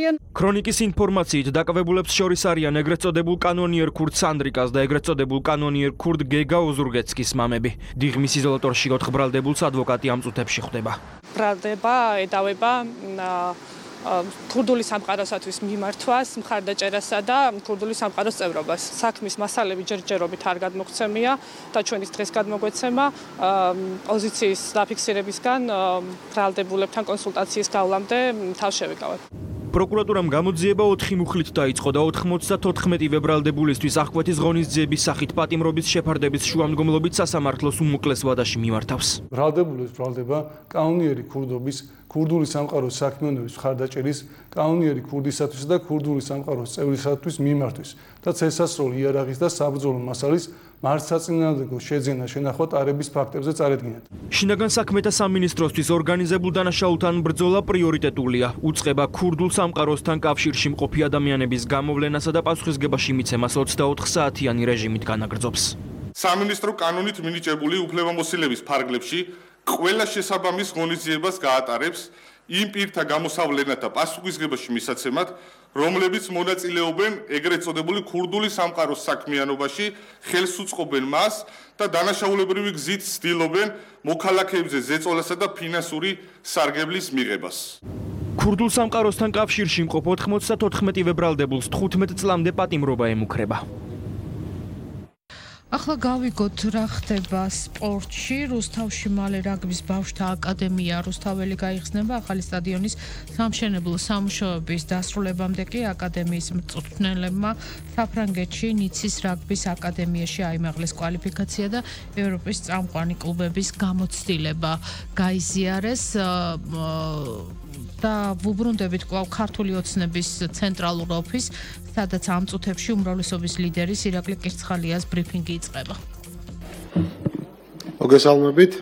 არიან. ქრონიკის ინფორმაციით დაკავებულებს შორის არიან ეგრეთ წოდებულ კანონიერ ქურდ სანდრიკას და ეგრეთ წოდებულ კანონიერ ქურდ გეგა ოზურგეცკის მამები. დიღმის იზოლატორში 4 ბრალდებულს ადვოკატი ამ წუთებში ხვდება. ბრალდება ედავება ქურდული სამყაროსათვის მიმართვას, მხარდაჭერასა და ქურდული სამყაროს წევრობას. საქმის მასალები ჯერჯერობით არ გადმოგცემია და ჩვენის დღეს გადმოგვეცემა პოზიციის დაფიქსირებისგან ბრალდებულებთან კონსულტაციის გავლამდე თავშევიკავებ. პროკურატურამ გამოძიება 4 მუხლით დაიწყო და 94 ბრალდებულისთვის აღკვეთის ღონისძიების სახით პატიმრობის შეფარდების შუამდგომლობით სასამართლოს უმოკლეს ვადაში მიმართავს. ბრალდებულებს ბრალდება კანონიერი ქურდობის, ქურდული სამყაროს საქმიანობის მხარდაჭერის, კანონიერი ქურდისათვის და ქურდული სამყაროს წევრისათვის მიმართვის და წესასროლ იარაღის და საბრძოლო მასალის მართსაწინააღმდეგო შეძენა შენახვა ტარების ფაქტებზე წარედგინათ. შინაგან საქმეთა სამინისტროსთვის ორგანიზებულ დანაშაულთან ბრძოლა პრიორიტეტულია. უწყება ქურდულ სამყაროსთან კავშირში მყოფი ადამიანების გამოვლენასა და პასუხისგებაში მიცემას 24 საათიანი რეჟიმით განაგრძობს. სამინისტრო კანონით მინიჭებული უფლებამოსილების ფარგლებში ყველა შესაბამის ღონისძიებას გაატარებს იმ პირთა გამოსავლენათა პასუხისგებაში მისაცემად, რომლებიც მონაწილეობენ ეგრეთ წოდებული ქურდული სამყაროს საქმიანობაში, ხელს უწყობენ მას და დანაშაულებრივი გზით ცდილობენ მოქალაქეებზე ზეწოლასა და ფინანსური სარგებლის მიღებას. ქურდულ სამყაროსთან კავშირში მყოფ 94 ბრალდებულს 15 წლამდე პატიმრობა ემუქრება. ახლა გავიგოთ რა ხდება სპორტში. რუსთავში მალე რაგბის ბავშვთა აკადემია რუსთაველი გაიხსნება. ახალი სტადიონის სამშენებლო სამუშაოების დასრულებამდე კი აკადემიის მწვრთნელებმა საფრანგეთში ნიცის რაგბის აკადემიაში აიმაღლეს კვალიფიკაცია და ევროპის წამყვანი კლუბების გამოცდილება გაიზიარეს. და ვუბრუნდებით კვლავ ქართული ოცნების ცენტრალურ ოფისს, სადაც ამ წუთებში უმრავლესობის ლიდერის ირაკლი კირცხალიას ბრიფინგი იწყება. მოგესალმებით.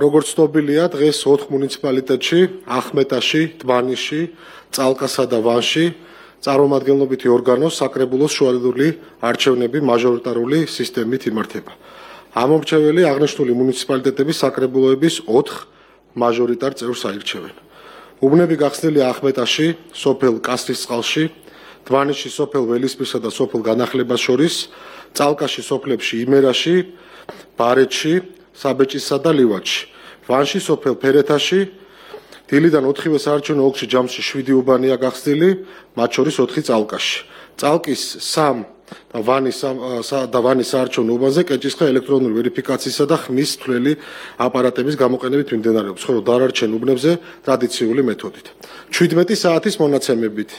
როგორც ცნობილია, დღეს 4 მუნიციპალიტეტში, ახმეტაში, დმანიში, წალკასა და ვანში წარმომადგენლობითი ორგანოს საკრებულოს შუალედური არჩევნები მაჟორიტარული სისტემით იმართება. ამორჩეველი აღნიშნული მუნიციპალიტეტების საკრებულოების 4 მაჟორიტარ წევრს აირჩევენ. უბნები გახსნილია ახმეტაში, სოფელ კასრისწყალში, დმანიში სოფელ ველისპირსა და სოფელ განახლებას შორის, წალკაში სოფლებში იმერაში, ბარეთში, საბეჭისსა და ლივაჩში, ვანში სოფელ ფერეთაში, დილიდან 4-ვე საარჩევნო ოლქში ჯამში 7 უბანია გახსნილი, მათ შორის 4 წალკაში. წალკის 3 და ვანის საარჩევნო უბანზე კეჭისყრა ელექტრონული ვერიფიკაციისა და ხმის თვლელი აპარატების გამოყენებით მიმდინარეობს, ხოლო დანარჩენ უბნებზე ტრადიციული მეთოდით. 17 საათის მონაცემებით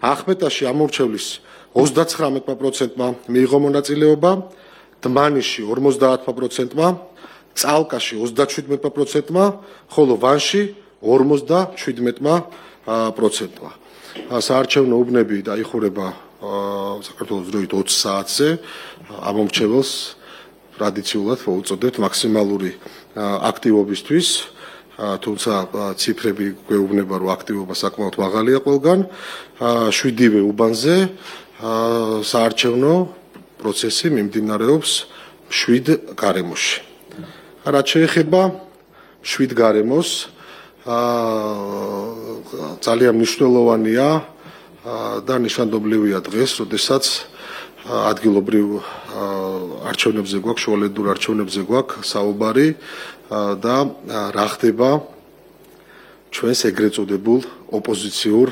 ახმეტაში ამორჩევლის 39%-მა მიიღო მონაწილეობა, დმანიში 50%-მა, წალკაში 37%-მა, ხოლო ვანში 57%-მა. საარჩევნო უბნები დაიხურება საქართველოს დროით 20 საათზე. ამომრჩეველს ტრადიციულად უწოდებთ მაქსიმალური აქტივობისთვის, თუმცა ციფრები გვეუბნება, რომ აქტივობა საკმაოდ მაღალია ყველგან. 7-ვე უბანზე საარჩევნო პროცესი მიმდინარეობს 7 გარემოში. რაც შეეხება 7 გარემოს, ძალიან მნიშვნელოვანია და ნიშანდობლივია დღეს, როდესაც ადგილობრივ არჩევნებზე გვაქვს, შუალედურ არჩევნებზე გვაქვს საუბარი და რა ხდება ჩვენს ეგრეთ წოდებულ ოპოზიციურ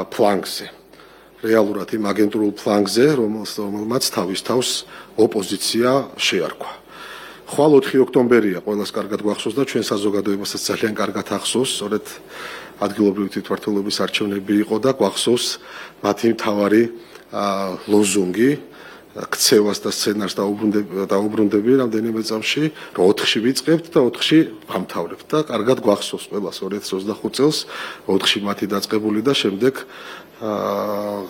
ფლანგზე. რეალურად იმ აგენტურულ ფლანგზე, რომელმაც თავის თავს ოპოზიცია შეარქვა. ხვალ 4 ოქტომბერია, ყველას კარგად გვახსოვს და ჩვენ საზოგადოებასაც ძალიან კარგად ახსოვს, სწორედ ადგილობრივი თვითმმართველობის არჩევნები იყო და გვახსოვს მათი მთავარი ლოზუნგი, ქცევას და სცენარს დაუბრუნდები რამდენიმე წამში, რომ 4-ში ვიწყებთ და 4-ში ვამთავრებთ და კარგად გვახსოვს ყველას 2025 წელს 4-ში მათი დაწყებული და შემდეგ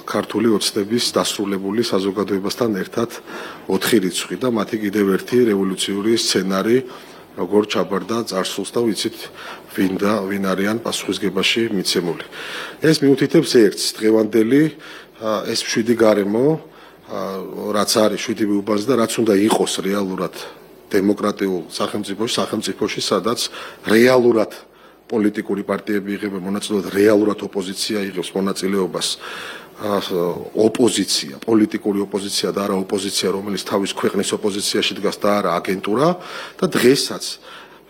ქართული ოცნების დასრულებული საზოგადოებასთან ერთად 4 რიცხვი და მათი კიდევ ერთი რევოლუციური სცენარი, როგორ ჩაბარდა წარსულს და ვიცით ვინ არიან პასუხისგებაში მიცემული. ეს მიუთითებს ერთს, დღევანდელი ეს 7 გარემო, რაც არის 7 უბანზე და რაც უნდა იყოს რეალურად დემოკრატიულ სახელმწიფოში, სადაც რეალურად პოლიტიკური პარტიები იღებენ მონაწილეობას, რეალურად ოპოზიცია იღებს მონაწილეობას. ოპოზიცია, პოლიტიკური ოპოზიცია და არა ოპოზიცია, რომელიც თავის ქვეყნის ოპოზიციაში დგას და არა აგენტურა და დღესაც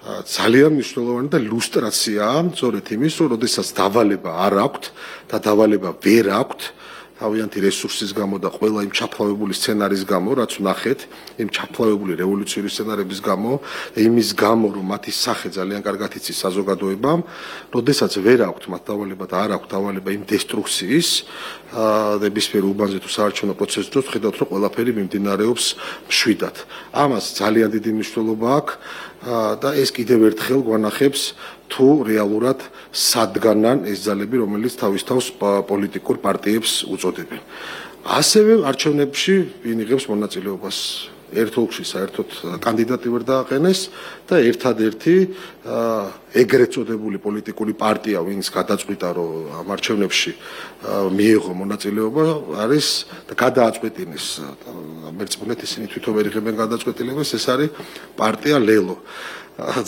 ძალიან მნიშვნელოვანი და ლუსტრაციაა, სწორედ იმის, რომ როდესაც დავალება არ აქვთ და დავალება ვერ აქვთ, თავიანთი რესურსის გამო და ყველა იმ ჩაფლავებული სცენარის გამო, რაც ვნახეთ, იმ ჩაფლავებული რევოლუციური სცენარების გამო, იმის გამო, რომ მათი სახე ძალიან კარგად იცის საზოგადოებამ, როდესაც ვერ აქვთ მათ დავალება და არ აქვთ დავალება იმ დესტრუქციის, ნებისმიერ უბანზე თუ საარჩევნო პროცესის დროს ხედავთ, რომ ყველაფერი მიმდინარეობს მშვიდად. ამას ძალიან დიდი მნიშვნელობა აქვს და ეს კიდევ ერთხელ გვანახებს თუ რეალურად სადგანან ეს ძალები, რომელიც თავის თავს პოლიტიკურ პარტიებს უწოდებენ. ასევე არჩევნებში ვინ იღებს მონაწილეობას? ერთ ოლქში საერთოდ კანდიდატი ვერ დააყენეს და ერთადერთი ეგრეთ წოდებული პოლიტიკური პარტია, ვინც გადაწყვიტა, რომ ამ არჩევნებში მიიღო მონაწილეობა, არის და გადააწყვეტინეს. მერწმუნეთ ისინი თვითონ ვერ იღებენ გადაწყვეტილებას, ეს არის პარტია ლელო.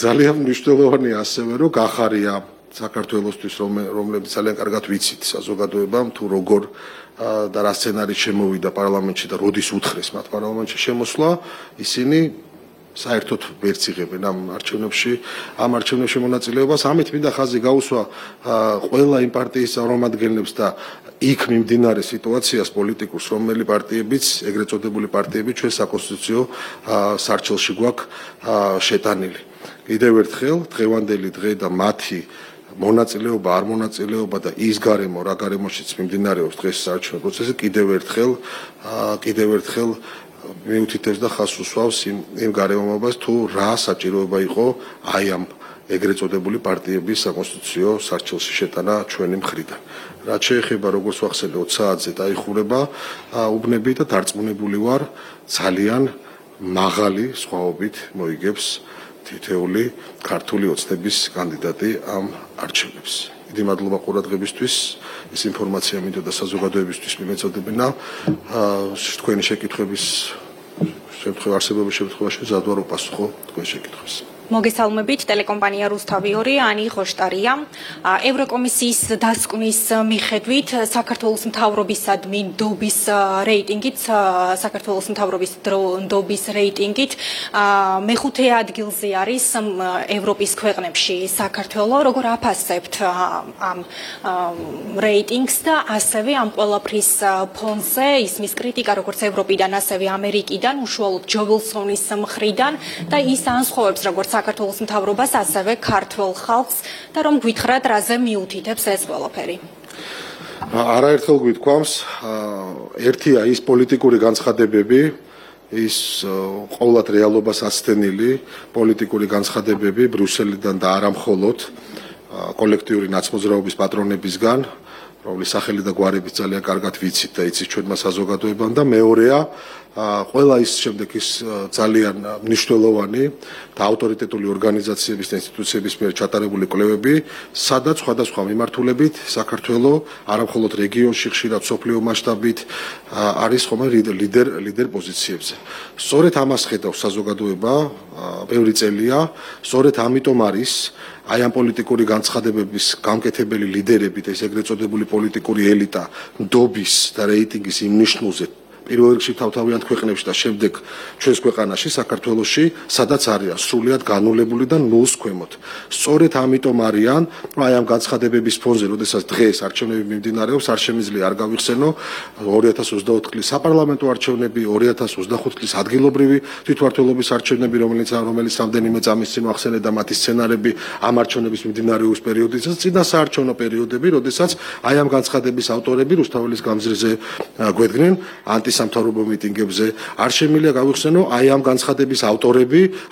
ძალიან მნიშვნელოვანია ასევე, რომ გახარია საქართველოსთვის, რომლებიც ძალიან კარგად ვიცით საზოგადოებამ, თუ როგორ და რა სცენარი შემოვიდა პარლამენტში და როდის უთხრეს მათ პარლამენტში შემოსვლა, ისინი საერთოდ ვერც იღებენ ამ არჩევნებში მონაწილეობას. ამით მინდა ხაზი გაუსვა ყველა იმ პარტიის წარმომადგენლებს და იქ მიმდინარე სიტუაციას პოლიტიკურს, რომელი პარტიებიც, ეგრეთ წოდებული პარტიები ჩვენ საკონსტიტუციო სარჩელში გვაქვს შეტანილი. კიდევ ერთხელ დღევანდელი დღე და მათი მონაწილეობა, არ მონაწილეობა და ის გარემო, რა გარემოშიც მიმდინარეობს დღეს საარჩევნო პროცესი, კიდევ ერთხელ მიუთითებს და ხაზს უსვავს იმ გარემოებას, თუ რა საჭიროება იყო აი ამ ეგრეთ წოდებული პარტიების საკონსტიტუციო სარჩელში შეტანა ჩვენი მხრიდან. რაც შეეხება, როგორც ვახსენე, 20 საათზე დაიხურება უბნები და დარწმუნებული ვარ, ძალიან მაღალი სხვაობით მოიგებს თითეული ქართული ოცნების კანდიდატი ამ არჩევნებს. დიდი მადლობა ყურადღებისთვის. ეს ინფორმაცია მინდოდა საზოგადოებისთვის მიმეწოდებინა. თქვენი შეკითხვების არსებობის შემთხვევაში ზად ვარ უპასუხო თქვენ შეკითხვებს. მოგესალმებით, ტელეკომპანია რუსთავი 2, ანი ხოშტარია. ევროკომისიის დასკვნის მიხედვით საქართველოს მთავრობისადმი ნდობის რეიტინგით, საქართველოს მთავრობის ნდობის რეიტინგით მეხუთე ადგილზე არის ევროპის ქვეყნებში საქართველო. როგორ აფასებთ ამ რეიტინგს და ასევე ამ ყველაფრის ფონზე ისმის კრიტიკა როგორც ევროპიდან, ასევე ამერიკიდან, უშუალოდ ჯო ვილსონის მხრიდან და ის ანსხვავებს როგორც საქართველოს მთავრობას, ასევე ქართველ ხალხს და რომ გვითხრათ, რაზე მიუთითებს ეს ყველაფერი. არაერთხელ გვითქვამს, ერთია ის პოლიტიკური განცხადებები, ის ყოველად რეალობას აცდენილი პოლიტიკური განცხადებები ბრიუსელიდან და არა მხოლოდ კოლექტიური ნაცმოძრაობის პატრონებისგან, რომლის სახელი და გვარები ძალიან კარგად ვიცით და იცით ჩვენმა საზოგადოებამ და მეორეა ყველა ის შემდეგ ის ძალიან მნიშვნელოვანი და ავტორიტეტული ორგანიზაციების და ინსტიტუციების მიერ ჩატარებული კვლევები, სადაც სხვადასხვა მიმართულებით საქართველოს არა მხოლოდ რეგიონში, ხშირად სოფლიო მასშტაბით არის ხომ ლიდერ პოზიციებზე. სწორედ ამას ხედავს საზოგადოება ბევრი წელია, სწორედ ამიტომ არის აი ამ პოლიტიკური განცხადებების გამკეთებელი ლიდერები და ეს ეგრეთ წოდებული პოლიტიკური ელიტა ნდობის და რეიტინგის იმ ნიშნულზე პირველ რიგში თავთავიანთ ქვეყნებში და შემდეგ ჩვენს ქვეყანაში, საქართველოში, სადაც არიან სრულიად განულებული და ნულს ქვემოთ. სწორედ ამიტომ არიან, რომ აი ამ განცხადებების ფონზე, როდესაც დღეს არჩევნები მიმდინარეობს, არ შემიძლია არ გავიხსენო 2024 წლის საპარლამენტო არჩევნები, 2025 წლის ადგილობრივი თვითმმართველობის არჩევნები, რომელიც რამდენიმე წამის წინ ვახსენე და მათი სცენარები ამ არჩევნების მიმდინარეობის პერიოდისას, წინა საარჩევნო პერიოდები, როდესაც აი ამ განცხადების ავტორები რუსთაველის გამზირზე გვედგნენ სამთავრობო მიტინგებზე, არ შემიძლია გავიხსენო აი ამ განცხადების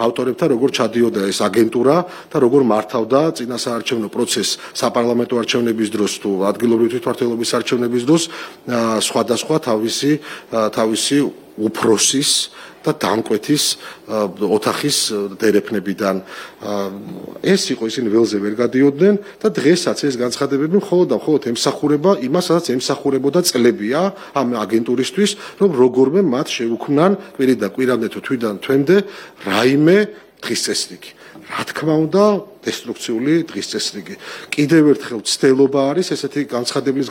ავტორებთან როგორ ჩადიოდა ეს აგენტურა და როგორ მართავდა წინა საარჩევნო პროცესს საპარლამენტო არჩევნების დროს თუ ადგილობრივი თვითმმართველობის არჩევნების დროს სხვადასხვა თავისი უფროსის და დამკვეთის ოთახის დერეფნებიდან. ეს იყო ისინი ველზე ვერ გადიოდნენ და დღესაც ეს განცხადებები მხოლოდ ემსახურება იმას, სადაც ემსახურებოდა წლებია ამ აგენტურისთვის, რომ როგორმე მათ შეუქმნან კვირიდან კვირამდე თუ თვიდან თვემდე რაიმე დღის წესრიგი, რა თქმა უნდა, დესტრუქციული დღის წესრიგი. კიდევ ერთხელ ცდელობა არის ესეთი განცხადებლის